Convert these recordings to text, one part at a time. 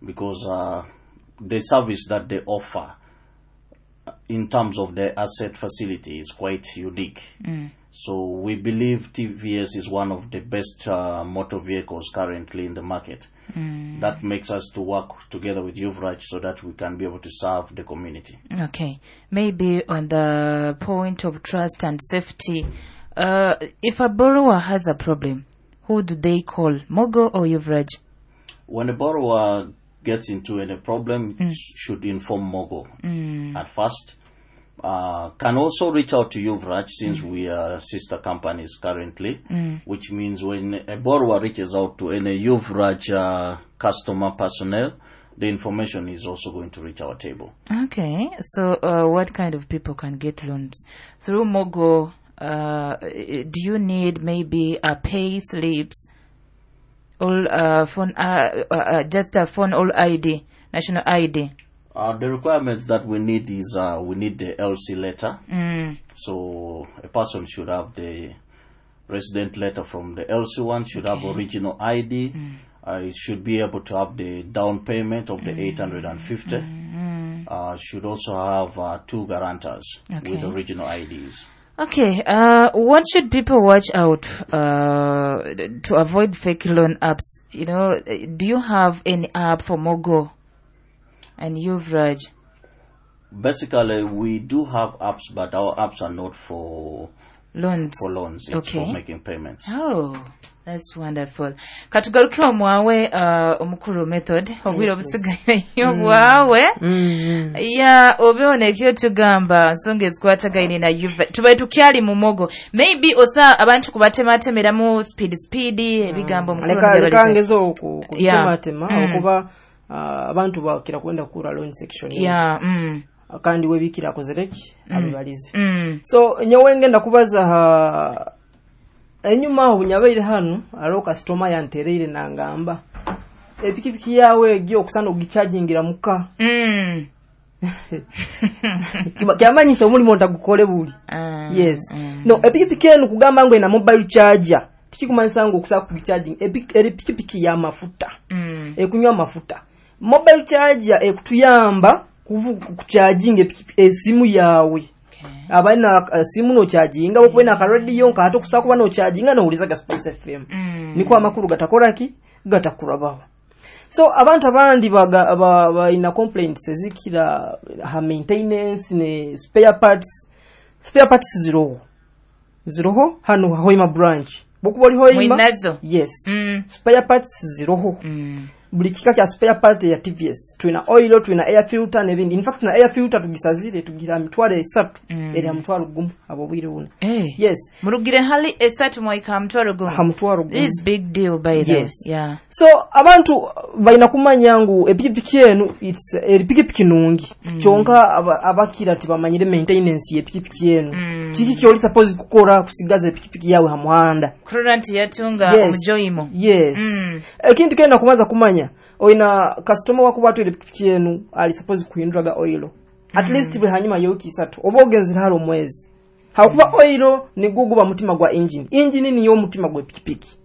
Because the service that they offer in terms of the asset facility is quite unique. So we believe TVS is one of the best motor vehicles currently in the market. That makes us to work together with Yuvraj so that we can be able to serve the community. Okay. Maybe on the point of trust and safety, if a borrower has a problem, who do they call, Mogo or Yuvraj? When a borrower gets into any problem, should inform Mogo at first. Can also reach out to Yuvraj since we are sister companies currently, which means when a borrower reaches out to any Yuvraj customer personnel, the information is also going to reach our table. Okay. So, what kind of people can get loans through Mogo? Do you need maybe a pay slips or phone, just a phone or ID, national ID? The requirements that we need is we need the LC letter. So a person should have the resident letter from the LC1, should have original ID. It should be able to have the down payment of the 850. Should also have two guarantors with original IDs. Okay, what should people watch out to avoid fake loan apps? Do you have any app for Mogo and Yuvraj? Basically, we do have apps, but our apps are not for loans. For loans. It's for making payments. Oh, that's wonderful. Katugaruke omwawe omukuru Method, obwire obusigayeyo bwawe. Ya obeho ekyo tugamba nsonga ezikwatagaine na Yuva. Tubaye tukyali mu Mogo. Maybe osa abantu kubatematemeramu speed speed ebigambo mukuru. Leka ngezo kutematema okuba abantu bakira kwenda kura loan section. Kandi webikira akozereki abibalize. So nyowe ngenda kubaza enyuma aho bunyabaire hano aro customer yantereire nangamba epikipiki yawe egiye okusana ogichargingira muka. Kyamanyisa omulimu ntagukole buli. Yes. No, epikipiki enu kugamba ngo ina mobile charger tikikumanyisa ngo okusaka kucharging epikipiki ya mafuta. Ekunywa mafuta. Mobile charger ekutuyamba kucharginga esimu yawe. Abaina simu no charginga okubena ka radio nka ate kusaka kuba no charginga no ulizaga Spice FM. Niko amakuru gatakora ki gatakurabaho. So abantu abandi baina complaints ezikira ha maintenance ne spare parts. Spare parts ziroho hano Hoima branch. Bokuba oli Hoima. Yes. Spare parts ziroho. Buli kika kya spare part ya TVS. Tulina oil, tulina air filter n'ebindi. In fact, na air filter tugisazire tugira 300 era 50 abo bwire buno. Yes. Murugire hali 3 mwaika 50. Ha 50. This is big deal by the way. Yes. Yeah. So abantu balina kumanya ngu epikipiki enu it's epikipiki nungi. Kyonka abakira tibamanyire maintenance y'epikipiki enu. Kiki kyoli suppose kukora kusigaza epikipiki yawe ha muhanda. Current yatunga omujoyimo. Yes. Ekintu kenda kumaza kumanya oina customer wakuba atwire epikipiki enu ali suppose kuhinduraga oil. At least bwe hanyuma y'ewiki 3 oba ogenzera hali omwezi. Hakuba oil nigwo guba mutima gwa engine. Engine niyo mutima gwa epikipiki.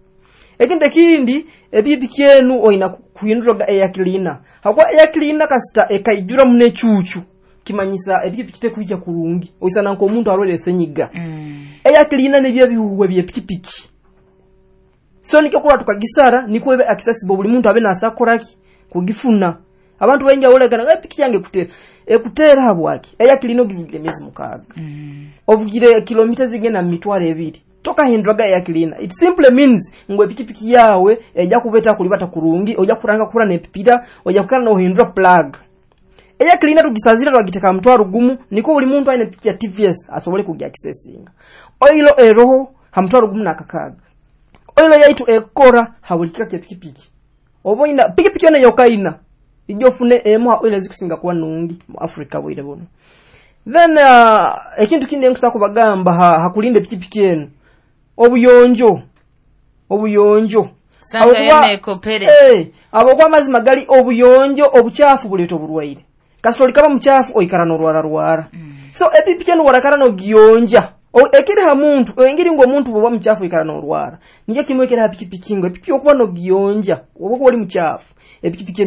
Ekintu ekindi epikipiki enu oina kuhinduraga air cleaner. Hakuba air cleaner kasita ekaijura munechuchu kimanyisa epikipiki tekuija kurungi. Oisana nko omuntu arwere senyiga. Air cleaner nibyo bihuwe by'epikipiki. So nikyo kula tukagisara niko ebe accessible buli muntu abe nasakoraki kugifuna. Abantu baingi olegana epiki yange kutera. Ekutera habwaki? Air cleaner ogivugire miezi 6. Ovugire kilomita zigenda 2,000. Toka hinduraga air cleaner. It simply means ngo epikipiki yawe ejja kubeta kulibata kurungi, ojja kuranga kura nepipira, ojja kukana no hindura plug. Air cleaner tugisazira twagiteka 50 niko buli muntu aine epiki ya TVS asobole kujya accessinga. Oil eroho ha 56. Oil yaitu ekora habuli kika kya pikipiki. Oboina pikipiki yona yokaina ijofune emu oil ezikusinga kuba nungi mu Africa bwire buno. Then ekintu kindi nkusaba kubagamba hakulinda pikipiki enu obuyonjo. Sanga yene ekopere. Abo kwa mazima gali obuyonjo obuchafu buleeta oburwaire. Kasitoli kaba muchafu oikara n'orwara rwara. So epipiki enu warakara n'ogiyonja. Ekiri ha muntu engeri ngo omuntu bwoba muchafu ikara n'orwara. Nikyo kimwe ekiri ha pikipiki ngo epipiki okuba n'ogiyonja oba oli muchafu epipiki enu.